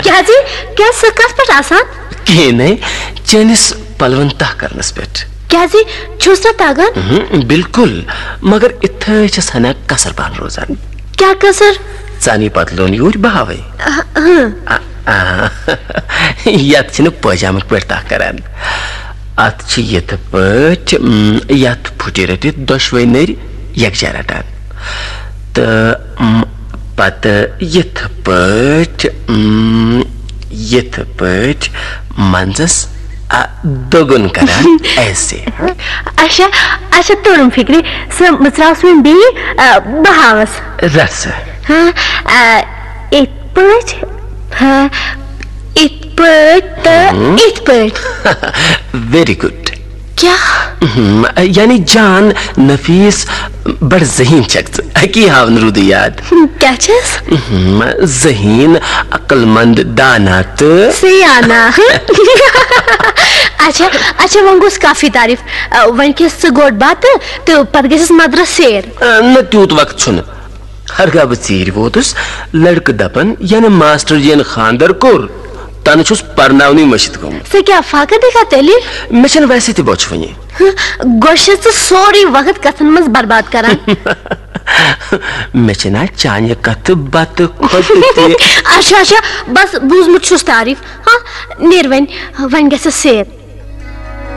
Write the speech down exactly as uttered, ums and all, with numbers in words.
کیٛازِ؟ کیٛازِ سُہ کتھ پٮ۪ٹھ آسان؟ کِہیٖنۍ نَے، چٲنِس پلون تہ کرنس پٮ۪ٹھ۔ کیٛازِ؟ چھُس نہ تگان؟ اہم، بالکل، مگر اِتھے چھس ہنا کسر پہن روزان۔ کیٛاہ کسر؟ ژانی پتلون یوٗرۍ بہاوے۔ اہم۔ آ، آ، یتھ چھِنہٕ پٲجامٕکۍ پٲٹھۍ تَکھ کران۔ اتھ چھِ یِتھ پٲٹھۍ، م، یتھ پھُٹہِ رٔٹِتھ دۄشوے نٔرۍ یکجاہ رٹان۔ تہٕ، م، پتہٕ یِتھ پٲٹھۍ، م، یِتھ پٲٹھۍ منٛزس، آ، دوٚگُن کران ایسے۔ اچھا، اچھا، توٚرُم فکرِ، سُہ مٕژراوس وۄنۍ بیٚیہِ، آ، بہٕ ہاوس۔ رٹ سا۔ ہاں، آ، یِتھ پٲٹھۍ، ہاں، یِتھ پٲٹھۍ تہٕ ہم۔ یِتھ پٲٹھۍ۔ Very good۔ کیٛاہ؟ ہم، یعنی جان نفیس، بڑ ذہین چھکھ ژٕ۔ اکی ہاون روٗدُے یاد۔ کیٛاہ چھس؟ ہم، ذہین، عقل مند، دانا تہٕ سیانا۔ اچھا، اچھا، وۄنۍ گوٚژھ کافی تعریف۔ آ، وۄنۍ کھٮ۪س ژٕ گۄڈٕ بتہٕ تہٕ پتہٕ گژھٮ۪س مدرس سیر۔ آ، نہ، تیوٗت وقت چھُنہٕ۔ ہرگاہ بہٕ ژیٖرۍ ووتُس، لڑکہٕ دپن، ینہٕ ماسٹر جین خاندر کوٚر، تنہٕ چھُس پرناونٕے مٔشِتھ گوٚمُت۔ ژٕ کیٛاہ فاقہٕ دِکھا تیٚلہِ؟ مےٚ چھَنہٕ ویسے تہِ بۄچھِ وٕنہِ۔ ہہ، گۄڈٕ چھَس ژٕ سورُے وقت کتھن منٛز برباد کران۔ مےٚ چھِنہ چانہِ کتھٕ بتہٕ کھۄتہٕ تہِ۔ اچھا، اچھا، بس بوٗزمُت چھُس تعریف۔ ہاں، نیر وۄنۍ، وۄنۍ گژھِ سیر۔